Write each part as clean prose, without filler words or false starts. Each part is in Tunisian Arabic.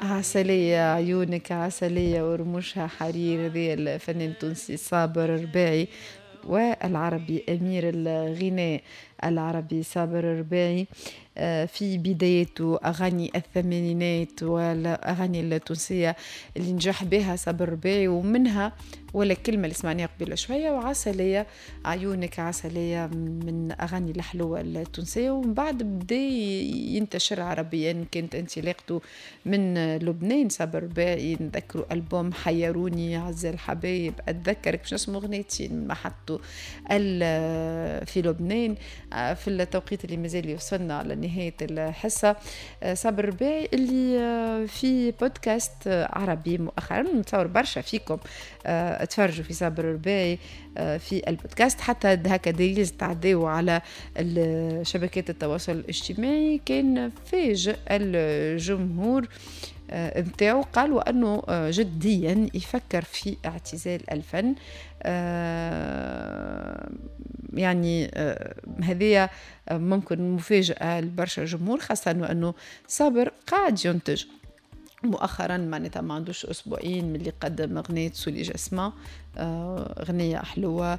عسلية عيونك عسلية ورموشها حرير. هذه الفنان التونسي صابر الرباعي والعربي أمير الغناء العربي صابر الرباعي في بدايته أغاني الثمانينات والأغاني التونسية اللي نجح بها صابر الرباعي، ومنها ولا كلمة اللي سمعناها قبل شوية وعسلية عيونك عسلية من أغاني الحلوة التونسية. ومن بعد بدا ينتشر عربيا، كانت انطلاقته من لبنان صابر الرباعي. نذكروا ألبوم حيروني، عز الحبايب، أتذكرك، باش نسمو أغنيتين من محطته في لبنان في التوقيت اللي مازال يوصلنا على نهاية الحصة. صابر الرباعي اللي في بودكاست عربي مؤخرا، نتصور برشا فيكم تفرجوا في صابر الرباعي في البودكاست، حتى هكا des reels تعداو على شبكات التواصل الاجتماعي، كان فاجئ الجمهور نتاعو، قالوا انه جديا يفكر في اعتزال الفن. يعني هذه ممكن مفاجأة لبرشا جمهور، خاصة أنه صابر قاعد ينتج مؤخرا، معناتها ما عندوش اسبوعين من اللي قدم اغنية sous les jasmins، اغنية حلوه،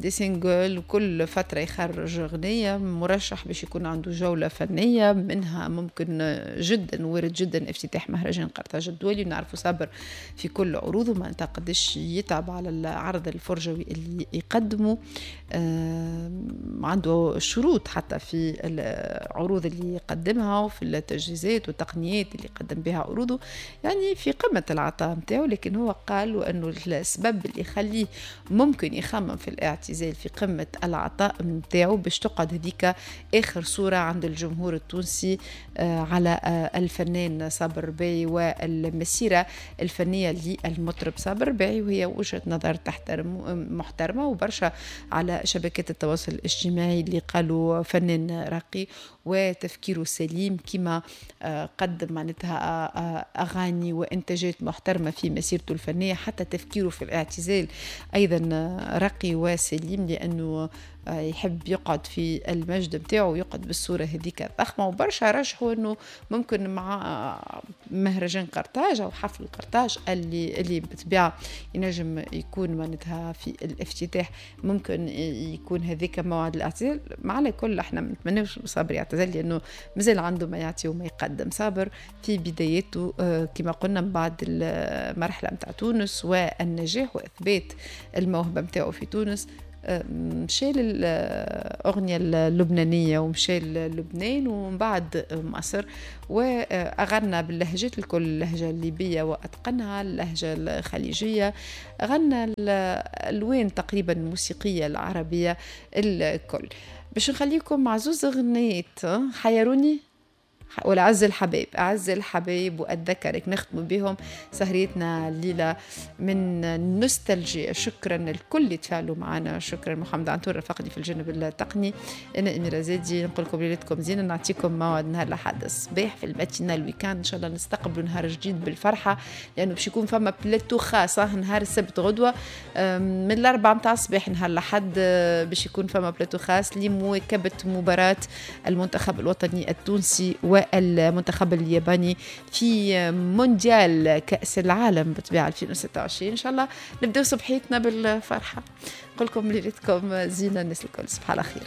des singles، وكل فترة يخرج اغنيه، مرشح باش يكون عنده جولة فنيه، منها ممكن جدا وارد جدا افتتاح مهرجان قرطاج الدولي. ونعرفوا صابر في كل عروضه معناتها قداش يتعب على العرض الفرجوي اللي يقدمه، عنده شروط حتى في العروض اللي يقدمها وفي التجهيزات والتقنيات اللي يقدم بها عروضه، يعني في قمة العطاء نتاعو. لكن هو قال وأنه السبب اللي يخليه ممكن يخمم في الاعتزال في قمة العطاء نتاعو باش تقعد هذيك آخر صورة عند الجمهور التونسي على الفنان صابر الرباعي والمسيرة الفنية للمطرب صابر الرباعي، وهي وجهة نظر تحترم محترمة. وبرشا على شبكات التواصل الاجتماعي اللي قالوا فنان راقي وتفكيره سليم، كما قدم معناتها أغاني وإنتاجات محترمة في مسيرته الفنية، حتى تفكيره في الاعتزال أيضا راقي وسليم، لأنه يحب يقعد في المجد نتاعو ويقعد بالصورة هذيك الضخمة. وبرشا رشحوا أنه ممكن مع مهرجان قرطاج أو حفل قرطاج اللي بالطبيعة ينجم يكون معناتها في الافتتاح، ممكن يكون هذيك موعد الاعتزال. مع كل احنا ما نتمناوش صابر يعتزل، لأنه مازال عنده ما يعطي وما يقدم. صابر في بدايته كما قلنا من بعد المرحلة نتاع تونس والنجاح وإثبات الموهبة نتاعو في تونس، مشى للأغنية اللبنانية ومشى للبنان ومن بعد مصر، وأغنى باللهجات الكل، اللهجة الليبية وأتقنها، اللهجة الخليجية، غنى الألوان تقريبا الموسيقية العربية الكل. باش نخليكم مع زوز أغنيات، حيروني ولا أعز الحبايب، أعز الحبايب وأتذكرك، نختم بهم سهريتنا الليلة من نوستالجيا. شكرا لكل اللي تفاعلوا معنا، شكرا محمد عنتور رفقني في الجانب التقني، أنا أميرة زادي نقول لكم ليلتكم زينة، نعطيكم موعد نهار الأحد الصباح في ال matinale week-end، إن شاء الله نستقبلوا نهار جديد بالفرحة، لأنه باش يكون فما بلاتو خاص نهار السبت غدوة من 4 متاع الصباح نهار الأحد، باش يكون فما بلاتو خاص لمواكبة مباراة المنتخب الوطني التونسي والمنتخب الياباني في مونديال كأس العالم بالطبيعة 2026. إن شاء الله نبدأ صبحيتنا بالفرحة. نقول لكم ليلتكم زينة الناس الكل، صباح على خير.